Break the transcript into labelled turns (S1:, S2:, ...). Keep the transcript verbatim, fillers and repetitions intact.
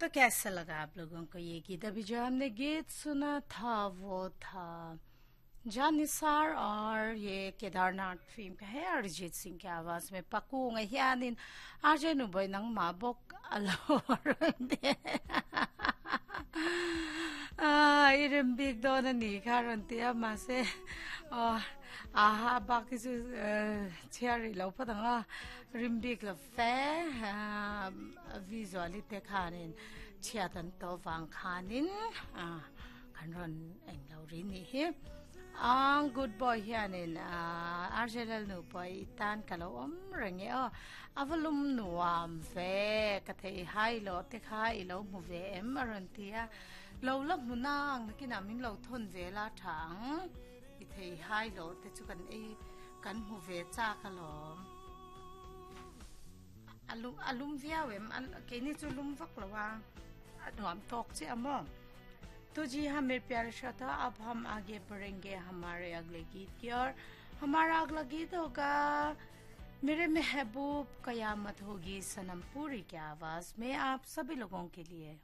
S1: तो कैसा लगा आप लोगों को ये गीत? अभी जो हमने गीत सुना था वो था जानिसार और ये केदारनाथ फिल्म का है, अरिजीत सिंह की आवाज में। Pakunga hianin R J nuboi nang ma bok alo a irem bik don ani kha ron tia ma se o a ha ba ki chu chiari lo patanga rim bik la fe visually te khanin chiatan to wang khanin a kan ron eng lo ri ni hi. Ang good boy hianin R J L nu poi tan kalo om range o avalum nuam ve ka thei hai lo te kha i lo mu ve em aron tia lo la munang kina min lo thon ve la thang i thei hai lo te chu kan ei kan mu ve cha ka lo alum alum viau em ke ni chu lum vak lo wa nuam tok che amo. तो जी हाँ मेरे प्यारे श्रोता, अब हम आगे बढ़ेंगे हमारे अगले गीत की ओर। हमारा अगला गीत होगा मेरे महबूब कयामत होगी, सनम पुरी की आवाज में आप सभी लोगों के लिए।